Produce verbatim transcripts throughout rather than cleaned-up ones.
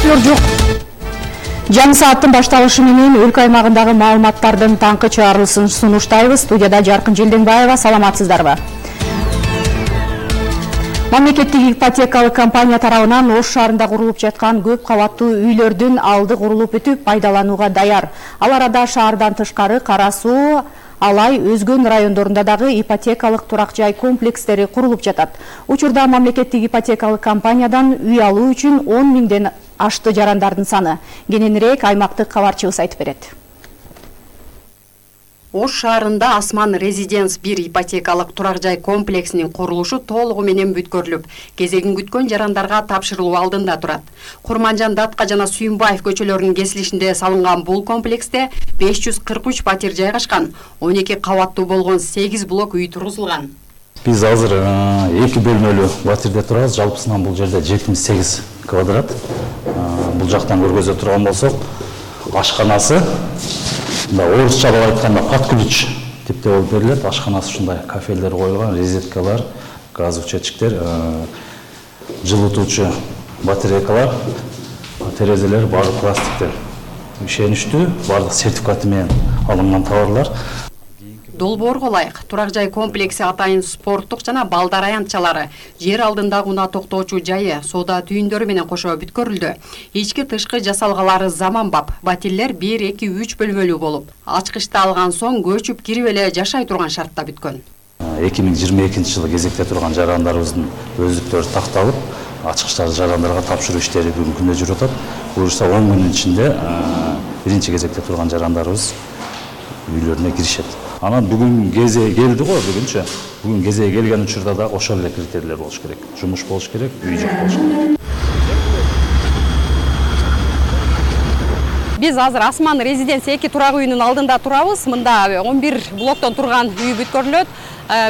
өкмөттөр жок. Жаңы сааттын башталышы менен өлкө аймагындагы маалыматтардын таңкы чыгарылышын сунуштайбыз. Студияда Жаркын Желденбаева, саламатсыздарбы? Мамлекеттик ипотекалык компания тарабынан Ош шаарында курулуп жаткан көп кабаттуу үйлөрдүн алды курулуп бүтүп, пайдаланууга даяр. Ал арада шаардан тышкары Кара Суу, Алай, өзгөн райондорунда дагы ипотекалык турак жай комплекстери курулуп жатат. Учурда мамлекеттик ипотекалык компаниядан үй алуу үчүн он миңден ашты жарандардын саны. Кененирээк аймактык кабарчыбыз айтып берет. Ош шаарында Асман Резиденс бир ипотекалык турак жай комплексинин курулушу толугу менен бүткөрүлүп, кезегин күткөн жарандарга тапшырылуу алдында турат. Курманжан Датка жана Сүйүнбаев көчөлөрүнүн кесилишинде салынган бул комплексте беш жүз кырк үч патир жайгашкан, он эки кабаттуу болгон сегиз блок үй тургузулган. Биз азыр эки бөлмөлүү батирде турабыз. Жалпысынан бул жерде жетимиш сегиз квадрат. Бул жактан көргөзө турган болсок, ашканасы орусчалап айтканда под ключ типте болуп берилет. Ашканасы ушундай кафелдер коюлган, розеткалар, газ учетчиктер, жылытуучу батарейкалар, терезелер баардык пластиктер. Ишеничтүү, баардык сертификаты менен алынган товарлар. Долбоорго ылайык, турак жай комплекси атайын спорттук жана балдар аянтчалары, жер алдындагы унаа токтоочу жайы, соода түйүндөрү менен кошо бүткөрүлдү. Ички тышкы жасалгалары заманбап, батирлер бир, эки, үч бөлмөлүү болуп, ачкычты алган соң көчүп кирип эле жашай турган шартта бүткөн. эки миң жыйырма экинчи жылы кезекте турган жарандарыбыздын өздүктөрү такталып, ачкычтарды жарандарга тапшыруу иштери бүгүнкү күндө жүрүп атат. Буюрса он күндүн ичинде биринчи кезекте турган жарандарыбыз үйлөрүнө киришет. Анан бүгүн кезеги келди го, бүгүнчө. Бүгүн кезеги келген учурда да ошол эле критерийлер болуш керек. Жумуш болуш керек, үй жок болуш керек. Биз азыр Асман Резиденс эки турак үйүнүн алдында турабыз. Мында он бир блоктон турган үй бүткөрүлөт.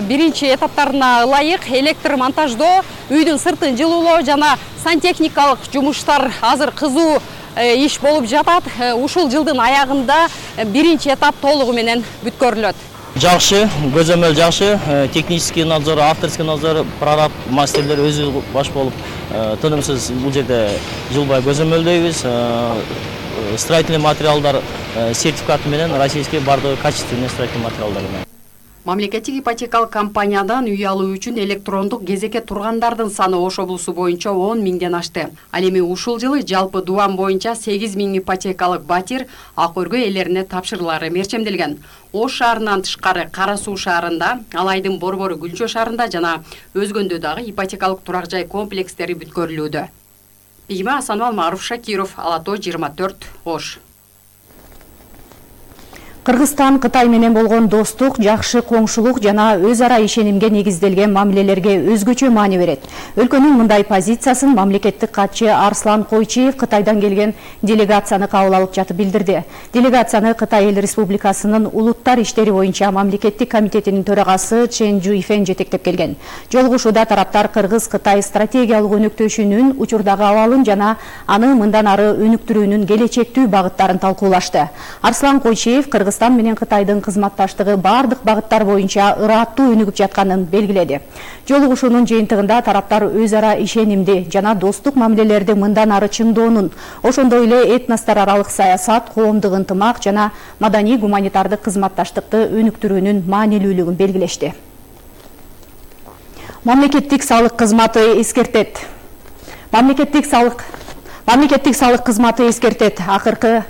Биринчи этаптарына ылайык электр монтаждоо, үйдүн сыртын жылуулоо жана сантехникалык жумуштар азыр кызуу иш болуп жатат. Ушул жылдын аягында биринчи этап толугу менен бүткөрүлөт. Жакшы, көзөмөл жакшы, технический надзор, авторский надзор, прораб мастерлер өзү баш болуп, тынымсыз бул жерде жылбай көзөмөлдөйбүз. Строительный материалдар сертификаты менен российский бардыгы качественный строительный материалдар менен. Мамлекеттик ипотекалык компаниядан үй алуу үчүн электрондук кезекке тургандардын саны Ош облусу боюнча он миңден ашты. Ал эми ушул жылы жалпы дубан боюнча сегиз миң ипотекалык батир ак өргө ээлерине тапшырылары мерчемделген. Ош шаарынан тышкары Кара Суу шаарында, Алайдын Борбору Гүлчө шаарында жана өзгөндө дагы ипотекалык турак жай комплекстери бүткөрүлүүдө. Бийиме Асанбал, Маруф Шакиров, Ала Тоо жыйырма төрт, Ош. Кыргызстан Кытай менен болгон достук, жакшы коңшулук жана өз ара ишенимге негизделген мамилелерге өзгөчө маани берет. Өлкөнүн мындай позициясын мамлекеттик катчы Арслан Койчиев Кытайдан келген делегацияны кабыл алып жатып билдирди. Делегацияны Кытай Эл Республикасынын улуттар иштери боюнча мамлекеттик комитетинин төрагасы Чен Жуйфен жетектеп келген. Жолугушууда тараптар Кыргыз-Кытай стратегиялык өнүктөшүнүн учурдагы абалын жана аны мындан ары өнүктүрүүнүн келечектүү багыттарын талкуулашты. Арслан Койчиев Кыргыз Кыргызстан менен Кытайдын кызматташтыгы бардык багыттар боюнча ыраттуу өнүгүп жатканын белгиледи. Жолугушуунун жыйынтыгында тараптар өз ара ишенимди жана достук мамилелерди мындан ары чыңдоонун, ошондой эле этностор аралык саясат, коомдук ынтымак жана маданий гуманитардык кызматташтыкты өнүктүрүүнүн маанилүүлүгүн белгилешти. Мамлекеттик салык кызматы эскертет. Мамлекеттик салык Мамлекеттик салык кызматы эскертет. Акыркы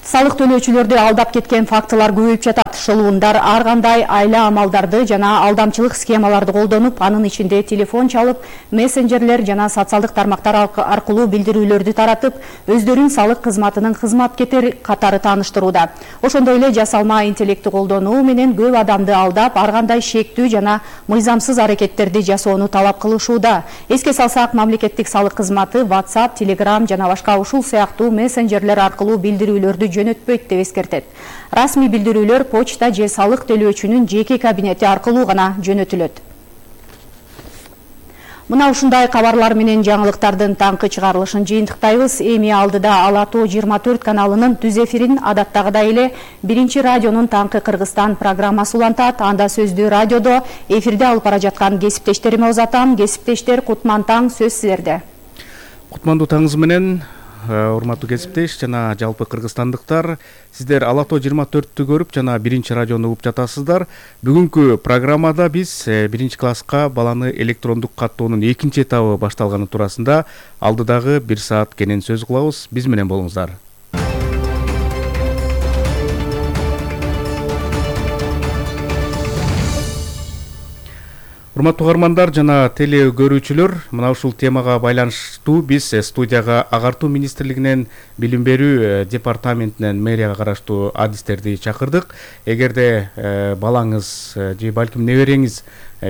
салык төлөөчүлөрдү алдап кеткен фактылар көбөйүп жатат. Шылуундар ар кандай айла амалдарды жана алдамчылык схемаларды колдонуп, анын ичинде телефон чалып, мессенджерлер жана социалдык тармактар аркылуу билдирүүлөрдү таратып, өздөрүн салык кызматынын кызматкерлери катары тааныштырууда. Ошондой эле жасалма интеллектти колдонуу менен көп адамды алдап, ар кандай шектүү жана мыйзамсыз аракеттерди жасоону талап кылышууда. Эске салсак, мамлекеттик салык кызматы WhatsApp, Telegram жана башка ушул сыяктуу мессенджерлер аркылуу билдирүүлөрдү жөнөтпөйт деп эскертет. Расмий билдирүүлөр почта же салык төлөөчүнүн жеке кабинети аркылуу гана жөнөтүлөт. Мына ушундай кабарлар менен жаңылыктардын таңкы чыгарылышын жыйынтыктайбыз. Эми алдыда Ала Тоо жыйырма төрт каналынын түз эфирин адаттагыдай эле биринчи радионун Таңкы Кыргызстан программасы улантат. Анда сөздү радиодо эфирде алып бара жаткан кесиптештериме узатам. Кесиптештер, кутман таң, сөз силерде. Кутмандуу таңыңыз менен, урматтуу кесиптеш жана жалпы кыргызстандыктар, сиздер Ала Тоо жыйырма төрттү көрүп жана биринчи радиону угуп жатасыздар. Бүгүнкү программада биз биринчи класска баланы электрондук каттоонун экинчи этабы башталганы туурасында алдыдагы бир саат кенен сөз кылабыз. Биз менен болуңуздар. Урматтуу угармандар жана теле көрүүчүлөр, мына ушул темага байланыштуу биз студияга Агартуу министрлигинен билим берүү департаментинен мэрияга караштуу адистерди чакырдык. Эгерде балаңыз же балким небереңиз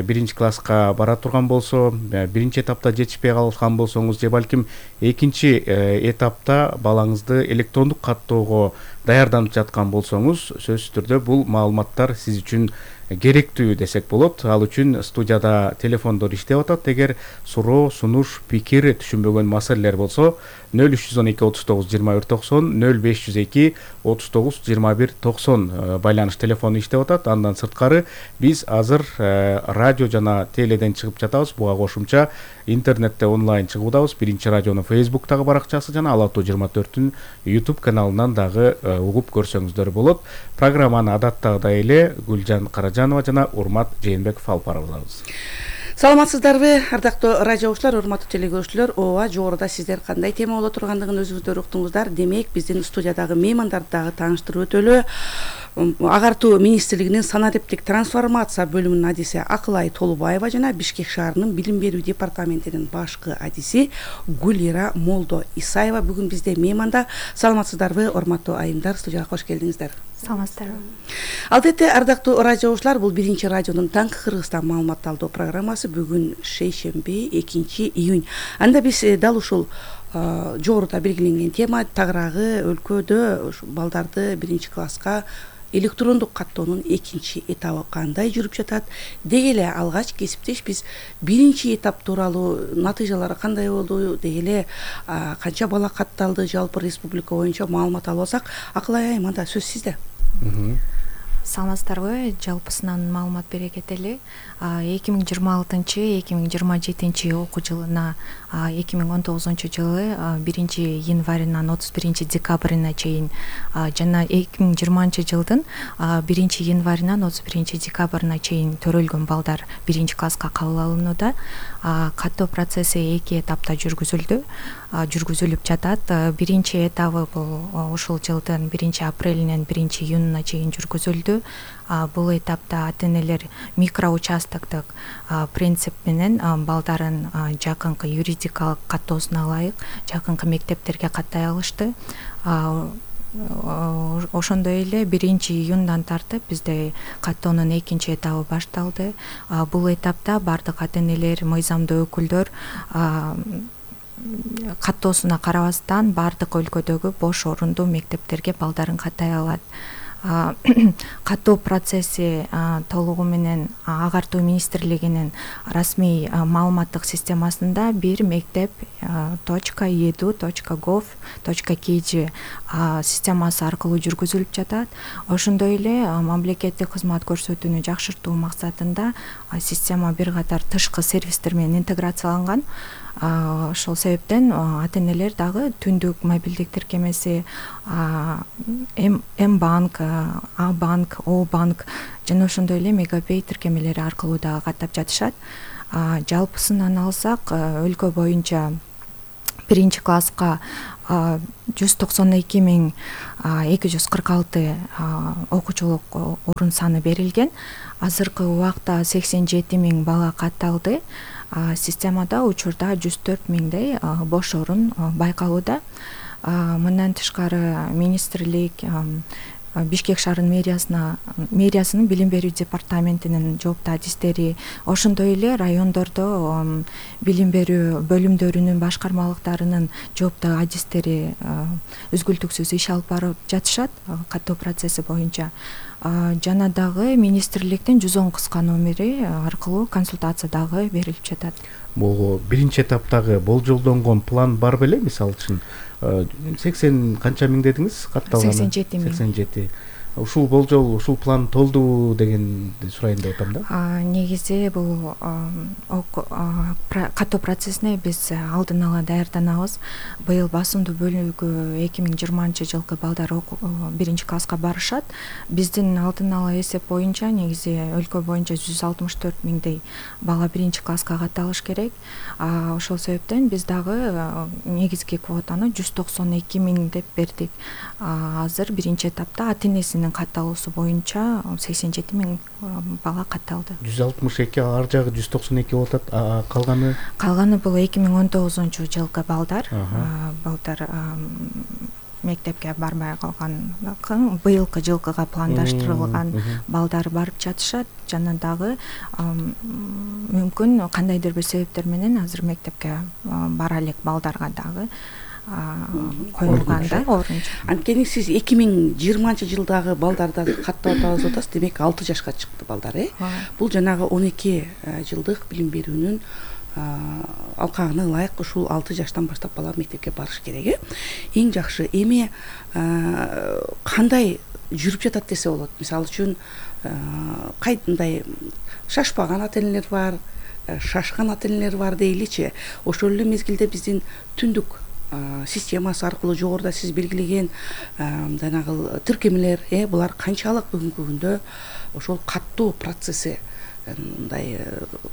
биринчи класска бара турган болсо, биринчи этапта жетишпей калган болсоңуз же балким экинчи этапта балаңызды электрондук каттоого даярданып жаткан болсоңуз, сөзсүз түрдө бул маалыматтар сиз үчүн керектүү десек болот. Ал үчүн студияда телефондор иштеп атат. Эгер суроо, сунуш, пикир, түшүнбөгөн маселелер болсо, нөл үч жүз он эки отуз тогуз жыйырма бир токсон, нөл беш жүз эки отуз тогуз жыйырма бир токсон байланыш телефону иштеп атат. Андан сырткары биз азыр радио жана теледен чыгып жатабыз. Буга кошумча интернетте онлайн чыгуудабыз. Биринчи радионун Facebooктагы баракчасы жана Ала Тоо жыйырма төрттүн YouTube каналынан дагы угуп көрсөңүздөр болот. Программаны адаттагыдай эле Гүлжан Каражанова жана Урмат Жээнбеков алып барабыз. Саламатсыздарбы, ардактуу радио угуучулар, урматтуу телекөрүүчүлөр. Ооба, жогоруда сиздер кандай тема боло тургандыгын өзүңүздөр уктуңуздар. Демек, биздин студиядагы меймандарды дагы тааныштырып өтөлү. Агартуу министрлигинин санариптик трансформация бөлүмүнүн адиси Акылай Толубаева жана Бишкек шаарынын билим берүү департаментинин башкы адиси Гүлира Молдо Исаева бүгүн бизде мейманда. Саламатсыздарбы, урматтуу айымдар, студияга кош келдиңиздер. Саламатсыздарбы. Албетте, ардактуу радио угуучулар, бул биринчи радионун Таңкы Кыргызстан маалымат алуу программасы. Бүгүн шейшемби, экинчи июнь. Анда биз дал ушул жогоруда белгиленген тема тагыраагы өлкөдө балдарды биринчи класска электрондук каттоонун экинчи этабы кандай жүрүп жатат деги эле алгач кесиптеш биз биринчи этап тууралуу натыйжалары кандай болду деги эле канча бала катталды жалпы республика боюнча маалымат алып алсак. Акылай айым, анда сөз сизде. Саламатсыздарбы, жалпысынан маалымат бере кетели. эки миң жыйырма алтынчы эки миң жыйырма жетинчи окуу жылына эки миң он тогузунчу жылы биринчи январынан отуз биринчи декабрына чейин жана эки миң жыйырманчы жылдын биринчи январынан отуз биринчи декабрына чейин төрөлгөн балдар биринчи класска кабыл алынууда. Каттоо процесси эки этапта жүргүзүлдү, жүргүзүлүп жатат. Биринчи этабы бул ушул жылдын биринчи апрелинен биринчи июнуна чейин жүргүзүлдү. Бул этапта ата-энелер микроучастоктук принцип менен балдарын жакынкы юридикалык каттоосуна ылайык жакынкы мектептерге каттай алышты. Ошондой эле биринчи июндан тартып бизде каттоонун экинчи этабы башталды. Бул этапта бардык ата-энелер, мыйзамдуу өкүлдөр каттоосуна карабастан бардык өлкөдөгү бош орундуу мектептерге балдарын каттай алат. Каттоо процесси толугу менен Агартуу министрлигинин расмий маалыматтык системасында бир мектеп точка edu точка gov точка kg системасы аркылуу жүргүзүлүп жатат. Ошондой эле мамлекеттик кызмат көрсөтүүнү жакшыртуу максатында система бир катар тышкы сервистер менен интеграцияланган. Ошол себептен ата-энелер дагы түндүк мобилдик тиркемеси, М-банк, А-банк, О-банк жана ошондой эле Мегапей тиркемелери аркылуу дагы каттап жатышат. Жалпысынан алсак, өлкө боюнча биринчи класска жүз токсон эки миң эки жүз кырк алты окуучулук орун саны берилген. Азыркы убакта сексен жети миң бала катталды. Системада учурда жүз төрт миңдей бош орун байкалууда. Мындан тышкары министрлик Бишкек шаарынын мэриясына мэриясынын билим берүү департаментинин жооптуу адистери, ошондой эле райондордо билим берүү бөлүмдөрүнүн башкармалыктарынын жооптуу адистери үзгүлтүксүз иш алып барып жатышат каттоо процесси боюнча. Жана дагы министрликтин жүз он кыска номери аркылуу консультация дагы берилип жатат. Бул биринчи этаптагы болжолдонгон план бар беле? Мисалы үчүн сексен канча миң дедиңиз катталганы? сексен жети миң. сексен жети. ушул болжол ушул план толдубу дегенди сурайын деп атам да. Негизи бул каттоо процессине биз алдын ала даярданабыз. Быйыл басымдуу бөлүгү эки миң жыйырманчы жылкы балдар биринчи класска барышат. Биздин алдын ала эсеп боюнча негизи өлкө боюнча жүз алтымыш төрт миңдей бала биринчи класска катталыш керек. Ошол себептен биз дагы негизги квотаны жүз токсон эки миң деп бердик. Азыр биринчи этапта ата-энесинин катталуусу боюнча сексен жети миң бала катталды. жүз алтымыш эки ар жагы жүз токсон эки болуп атат. Калганы калганы бул эки миң он тогузунчу жылкы балдар. Балдар мектепке барбай калган, быйылкы жылкыга пландаштырылган балдар барып жатышат. Жана дагы мүмкүн кандайдыр бир себептер менен азыр мектепке бара элек балдарга дагы коюлган да орун. Анткени сиз эки миң жыйырманчы жылдагы балдарды каттап атабыз деп атасыз, демек алты жашка чыкты балдар, э? Бул жанагы он эки жылдык билим берүүнүн алкагына ылайык ушул алты жаштан баштап бала мектепке барыш керек, э? Эң жакшы эми кандай жүрүп жатат десе болот. Мисалы үчүн кайдай шашпаган ата-энелер бар, шашкан ата-энелер бар дейличи. Ошол эле мезгилде биздин түндүк системасы аркылуу жогоруда сиз белгилеген жанагы тиркемелер, э, булар канчалык бүгүнкү күндө ошол каттоо процесси мындай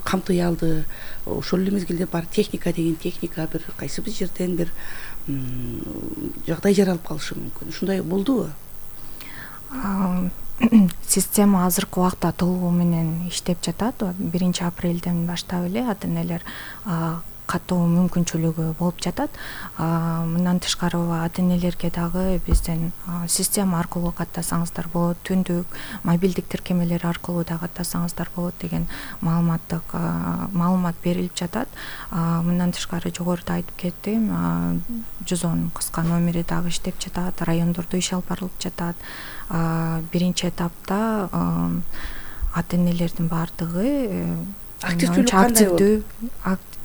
камтый алды? Ошол эле мезгилде бар техника деген техника бир кайсы бир жерден бир жагдай жаралып калышы мүмкүн. Ушундай болдубу? Система азыркы убакта толугу менен иштеп жатат. биринчи апрелден баштап эле ата-энелер каттоо мүмкүнчүлүгү болуп жатат. Мындан тышкары ата-энелерге дагы бизден система аркылуу каттасаңыздар болот, түндүк мобилдик тиркемелер аркылуу да каттасаңыздар болот деген маалыматтык маалымат берилип жатат. Мындан тышкары жогоруда айтып кеттим, жүз он кыска номери дагы иштеп жатат, райондордо иш алып барылып жатат. Биринчи этапта ата-энелердин баардыгы активдүү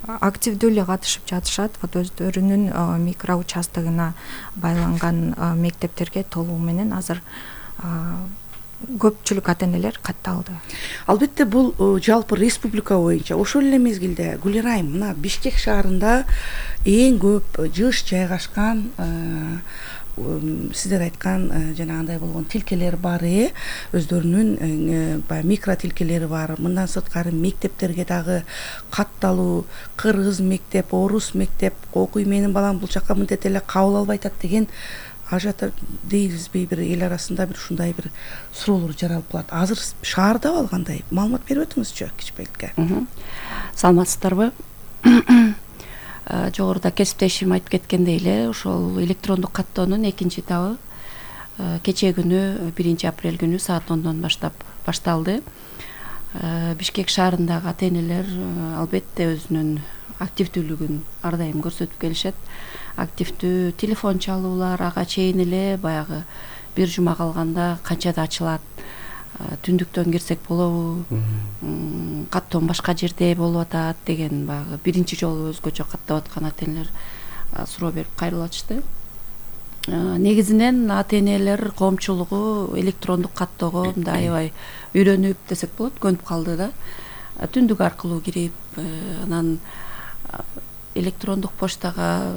активдүү эле катышып жатышат. Вот өздөрүнүн микроучастогуна байланган мектептерге толугу менен азыр көпчүлүк ата-энелер катталды. Албетте бул жалпы республика боюнча. Ошол эле мезгилде Гүлер айым, мына Бишкек шаарында эң көп жыш жайгашкан сиздер айткан жанагындай болгон тилкелер бар, э, өздөрүнүн баягы микро тилкелери бар. Мындан сырткары мектептерге дагы катталуу, кыргыз мектеп, орус мектеп окуй, менин балам бул жака мынтет эле кабыл албай атат деген ажата дейбизби, бир эл арасында бир ушундай бир суроолор жаралып калат. Азыр шаарда алгандай маалымат берип өтүңүзчү кичпеликке. Саламатсыздарбы? Жогоруда кесиптешим айтып кеткендей эле, ошол электрондук каттоонун экинчи этабы кечээ күнү биринчи апрель күнү саат ондон баштап башталды. Бишкек шаарындагы ата-энелер албетте өзүнүн активдүүлүгүн ар дайым көрсөтүп келишет. Активдүү телефон чалуулар, ага чейин эле баягы бир жума калганда канчада ачылат, түндүктөн кирсек болобу, каттоон башка жерде болуп атат деген баягы биринчи жолу өзгөчө каттап аткан ата-энелер суроо берип кайрылышты. Негизинен ата-энелер коомчулугу электрондук каттоого мындай аябай үйрөнүп десек болот, көнүп калды да. Түндүк аркылуу кирип, анан электрондук почтага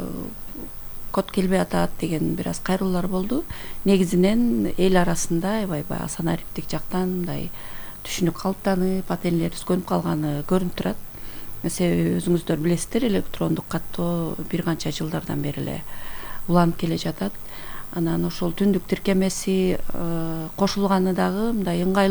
код келбей атат деген бир аз кайрылуулар болду. Негизинен эл арасында аябай баягы санариптик жактан мындай түшүнүк калыптанып, ата-энелерибиз көнүп калганы көрүнүп турат. Себеби өзүңүздөр билесиздер, электрондук каттоо бир канча жылдардан бери эле уланып келе жатат. Анан ошол түндүк тиркемеси кошулганы дагы мындай ыңгайлуу